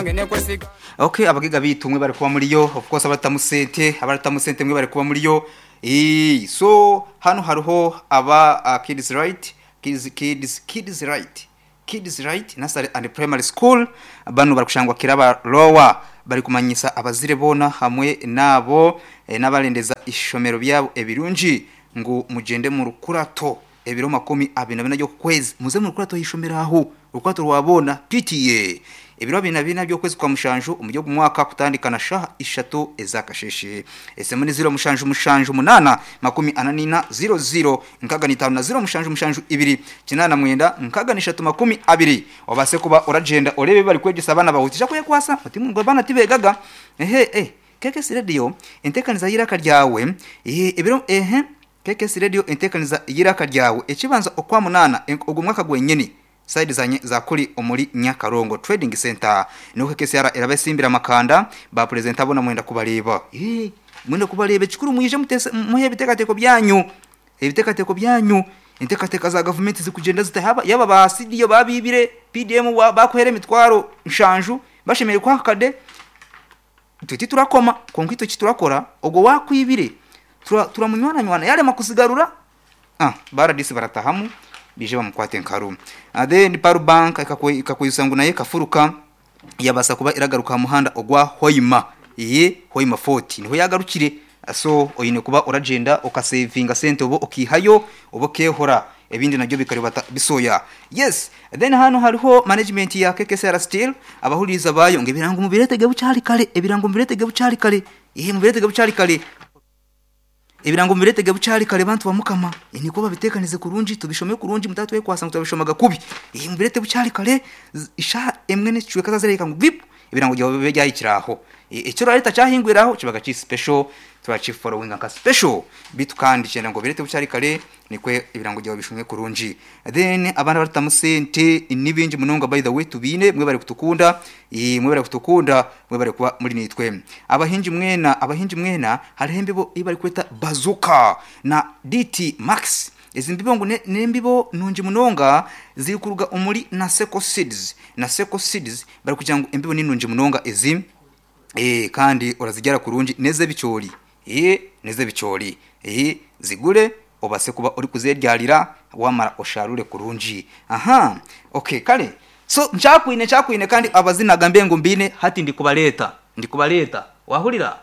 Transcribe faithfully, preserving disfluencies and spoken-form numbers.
yange nekwesiga. Okay, abagiga bitu mwe bari kuba muri yo, of course abaratamu sente, abaratamu sente mwe bari kuba muri yo. Eh, so hano hariho aba uh, kids right, kids kids kids right. Kids Right Nursery and Primary School bano bari kushangwa kiraba lower bari kumanyisa abazire bona hamwe nabo e, n'abarendeza ishomero byabo ebirungi ngo mugende mu rukurato ebiro makumi abiri na bina byo kwezi muze mu rukurato y'ishomero aho rukurato rwabona P T A ebiro abiri na bina byo kwezi kwa mushanju umujyo mwaka kutandikana shaha ishatu ezakasheshe esemu ni zero mushanju mushanju munana makumi ananina zero zero nkaga ni tano na zero mushanju mushanju ibiri kinana mwenda nkaga ni shatu makumi abiri wabase kuba oragenda orebe bari kwegesa abana bahutisha kuye kwasa muti ngo bana tibegaga ehe eh K K S Radio entekaniza yiraka ryawe ehe ebiro ehe K K S Radio entekaniza yiraka ryawe ekibanza okwa munana ogwo mwaka gwenyene side zanye za kuri omuri Nyakarongo Trading Center nuko K S R erabesimbira makanda ba presenter abona mwenda kubareba eh mwenda kubareba kikuru mwije mutese muhe bitekateko byanyu ibitekateko byanyu intekateka za government zikugenda zitahaba yaba ba C D babibire P D M bakuhere mitwaro nshanju bashemeye kwa kade tuti turakoma konkwito kiturakora ogwo wakwibire turamunywana nywana yale makusigarura ah baradisi baratahamu bije bamukwate nkaru then Paru Bank ikakuyusangu naye kafuruka yabasa kuba iragaruka muhanda ogwa Hoima iye Hoima forty niho yagarukire so oyine kuba oragenda okasavinga sente obo okihayo obo kehora ebindi nabyo bikaribata bisoya. Yes, then hano hariho management ya K K S R Steel abahuriza bayo ngo ebirango mubiretege bucyari kare ebirango mubiretege bucyari kare ihe mubiretege bucyari kare ebirango mubiretege bucyari kare bantu bamukama niko babitekanize kurungi tubishome kurungi mutatwe kwasa mutabishomaga kubi ihe mubirete bucyari kare isha emwe ne cwe kazazereka ngo vip ebirango byawe byayikiraho icyo rarita cyahingwiraho kibaga ci special turachi following nka special bitu kandi cyenda ngo birete bucyari kare nikwe ebirango byawe bishumwe kurungi. Then abana baratamusente nibinji munonga by the way tubine mwe bari kutukunda mwe bari kutukunda mwe bari kuba muri nitwe abahinji mwena abahinji mwena harihembe bo ibari kweta bazooka na D T Max izi mbibo ngo nembibo nunji munonga ziri kuruga umuri na Seko Seeds na Seko Seeds bari kugira ngo imbibo ninunji munonga izi eh kandi urazigera kurungi neze bicori eh neze bicori eh zigure obase kuba uri kuzeryarira wamara osharure kurungi. Aha, okay kale so nchakwine nchakwine kandi abazinaga mbengo mbine hati ndikubaleta ndikubaleta wahurira